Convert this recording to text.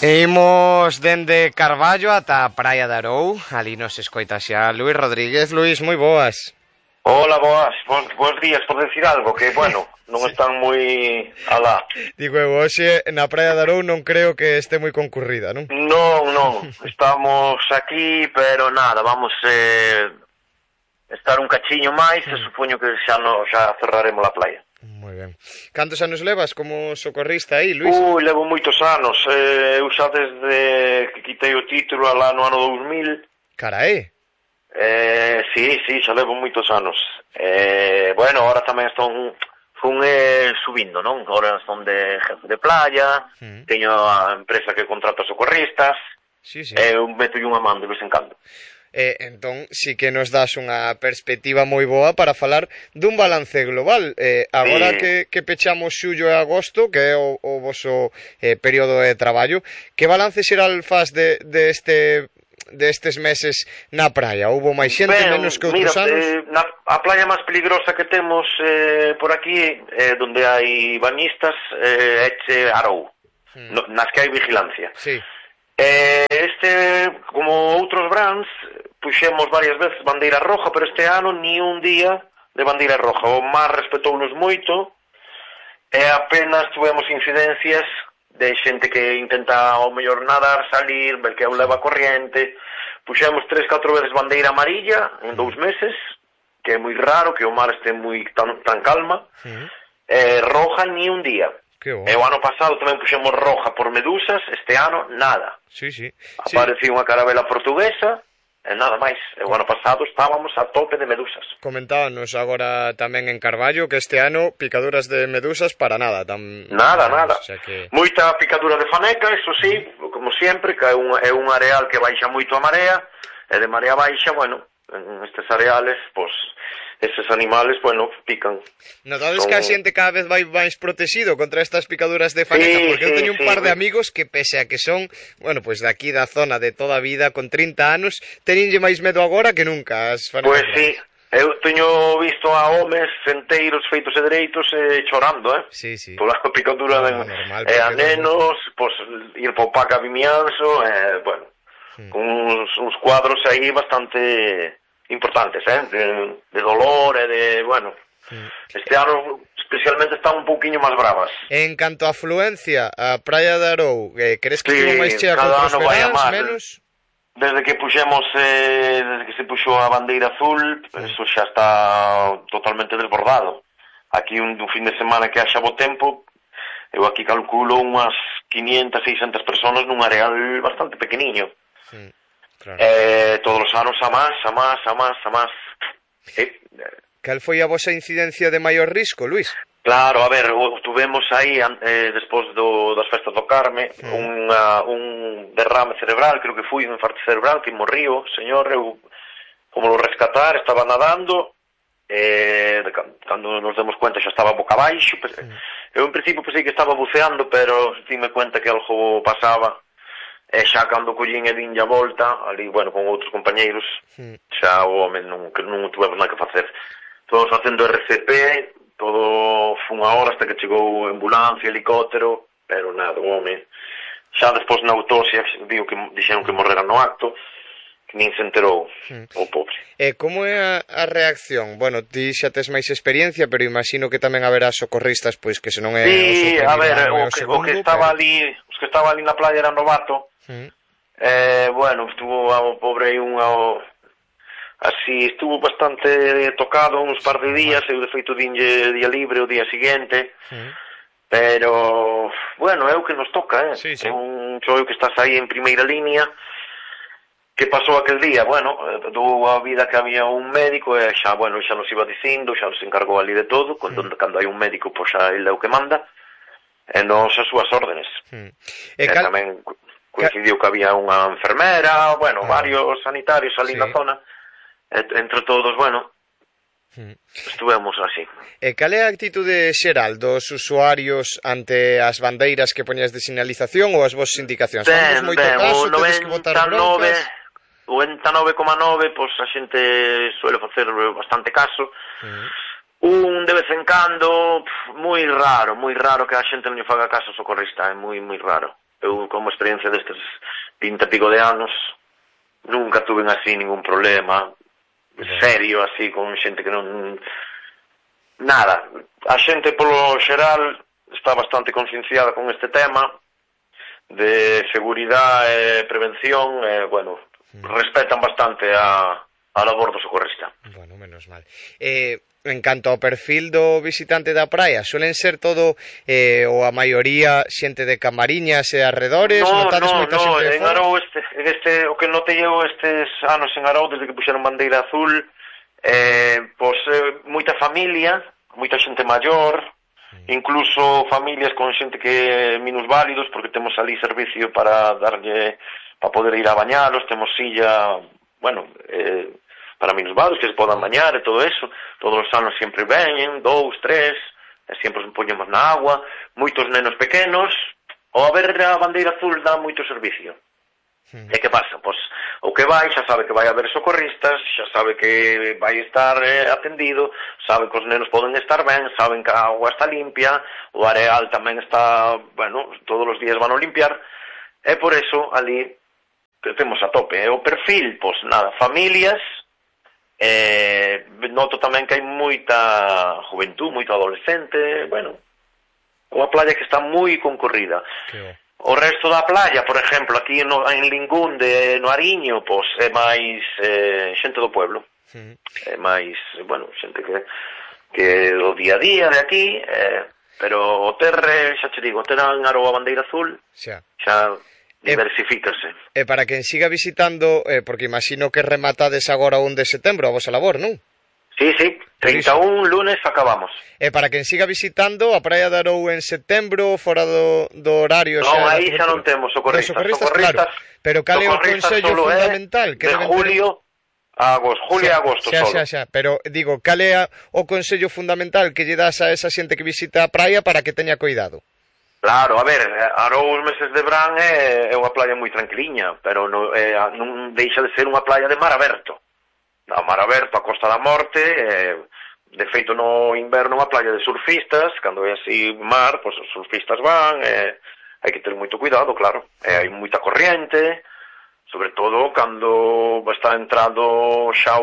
Imos dende Carballo ata a Praia de Arou. Ali nos escoita xa Luís Rodríguez. Luís, moi boas. Hola, boas, bons días, por decir algo, que, bueno, non están moi alá. Digo eu, hoxe na Praia de Arou non creo que este moi concurrida, non? Non, estamos aquí, pero nada, vamos estar un cachiño máis e supoño que xa cerraremos a playa. Moi ben. Cantos anos levas como socorrista aí, Luís? Levo moitos anos, eu xa desde que quitei o título alá no ano 2000. Carai. Sí, xa levo moitos anos. Bueno, ahora tamén fun subindo, non? Ahora son de jefe de playa, teño a empresa que contrata socorristas, sí. Eu meto unha man de vez en cando. Entón, sí que nos das unha perspectiva moi boa para falar dun balance global. Agora que pechamos xullo e agosto, que é o voso período de traballo, que balance xeral faz destes meses na praia? Houbo máis xente, menos que outros anos? A playa máis peligrosa que temos por aquí, donde hai bañistas, é Arou, nas que hai vigilancia. Sí. Como outros brands, puxemos varias veces bandeira roja, pero este ano ni un día de bandeira roja. O mar respetounos moito e apenas tuvemos incidencias de xente que intenta ao mellor nadar, salir, ver que leva corriente. Puxemos 3-4 veces bandeira amarilla en 2 meses, que é moi raro que o mar este tan calma. Roja ni un día. E o ano pasado tamén puxemos roja por medusas, este ano nada. Sí. Apareceu unha carabela portuguesa e nada máis. E o ano pasado estábamos a tope de medusas. Comentábanos agora tamén en Carballo que este ano picaduras de medusas para nada. Nada. O sea que... Moita Moita picadura de faneca, eso sí, como sempre, que é un areal que baixa moito a marea, e de marea baixa, bueno, en estes areales, pois... Eses animales, bueno, pican. Notades que a xente cada vez vai máis protegido contra estas picaduras de faneca, porque eu teño un par de amigos que, pese a que son, bueno, pues de aquí da zona de toda a vida, con 30 anos, teñenlle máis medo agora que nunca as fanecas. Pois sí, eu teño visto a homes enteiros feitos e dereitos chorando, Sí. Pola picadura a nenos, pois ir po Paca Vimianzo, bueno, uns cuadros aí bastante... importantes, de dolor e de, bueno, este ano especialmente están un pouquiño máis bravas. En canto a afluencia, a Praia de Arou, crees que estivo máis chea que outros veráns, menos? Desde que se puxou a bandeira azul, eso xa está totalmente desbordado. Aquí un fin de semana que haxa bo tempo, eu aquí calculo unhas 500-600 personas nun areal bastante pequeniño. Claro. Todos os anos a más. Cal foi a vosa incidencia de maior risco, Luís? Claro, a ver, tuvemos aí, despois das festas do Carme, un derrame cerebral, creo que foi un infarto cerebral, que morriu, señor, eu, como lo rescatar, estaba nadando, cando nos demos cuenta xa estaba boca abaixo, eu en principio pensei que estaba buceando, pero dime cuenta que algo pasaba. E xa cando collín e dinlle a volta, ali, bueno, con outros compañeiros, xa o home non tuvemos nada que facer. Todos facendo RCP, todo foi unha hora hasta que chegou ambulancia, helicóptero, pero nada, o home. Xa despois na autopsia dixeron que morrera no acto, que nin se enterou, o pobre. E como é a reacción? Bueno, ti xa tes máis experiencia, pero imagino que tamén haberá socorristas, pois que se non é o seu primeiro a ver, ano, o que estaba ali, os que estaba ali na playa era novato. Bueno, estuvo o pobre aí así, estuvo bastante tocado uns par de días, eu de feito dinlle día libre o día seguinte, pero bueno, é o que nos toca, Sí. Un xoio que estás aí en primeira línea. Que pasou aquel día? Bueno, dou a vida que había un médico e xa nos iba dicindo, xa nos encargou ali de todo, cando hai un médico, pois xa ele é o que manda, e nos as súas órdenes. Tamén coincidiu que había unha enfermera, bueno, varios sanitarios ali na zona, entre todos, bueno, estuvemos así. E cal é a actitude xeral dos usuarios ante as bandeiras que poñas de sinalización ou as vosas indicacións? Famos moito caso, tedes que botar broncas? O 99,9, pois a xente suele facer bastante caso. Un de vez en cando, moi raro que a xente non lle faga caso ao socorrista, é moi raro. eu como experiencia destes 20 e pico de anos nunca tuve así ningún problema serio, así, con xente que non... Nada, a xente polo xeral está bastante concienciada con este tema de seguridade e prevención, bueno, respetan bastante a labor do socorrista. Bueno, menos mal. En canto ao perfil do visitante da praia, suelen ser todo ou a maioría xente de Camariñas e arredores? No, xente en Arou o que notei eu estes anos en Arou desde que puxeron bandeira azul, pois moita familia, moita xente maior, incluso familias con xente que minusválidos, porque temos ali servicio para darlle, para poder ir a bañalos, temos silla, bueno, para minusválidos que se podan bañar e todo eso, todos os anos sempre veñen, 2, 3, e sempre os poñemos na agua, moitos nenos pequenos, ao haber a bandeira azul dá moito servicio. E que pasa? Pois o que vai xa sabe que vai haber socorristas, xa sabe que vai estar atendido, sabe que os nenos poden estar ben, saben que a agua está limpia, o areal tamén está, bueno, todos os días van a limpiar, e por eso ali que temos a tope. O perfil, pois nada, familias, noto tamén que hai moita juventud, moito adolescente, bueno, unha playa que está moi concorrida. O resto da playa, por exemplo, aquí en Lingunde, no Ariño, pois é máis xente do pueblo. É máis, bueno, xente que do día a día de aquí, pero o terre, xa che digo, o terre en Aroa Bandeira Azul, xa diversifícase. E para quen siga visitando, porque imagino que rematades agora o 1 de setembro a vosa labor, non? Sí, 31 lunes acabamos. E para quen siga visitando a praia de Arou en setembro, fora do horario... Non, aí xa non temos socorristas. Claro. Pero cal é o consello fundamental? De julio a agosto, julio e agosto solo. Xa, pero digo, cal é o consello fundamental que lle das a esa xente que visita a praia para que teña cuidado? Claro, a ver, Arou os meses de verán é unha playa moi tranquiliña, pero non deixa de ser unha playa de mar aberto. A mar aberto, a Costa da Morte, de feito no inverno unha playa de surfistas, cando é así mar, pois os surfistas van, hai que ter moito cuidado, claro, hai moita corriente, sobre todo cando está entrando xa o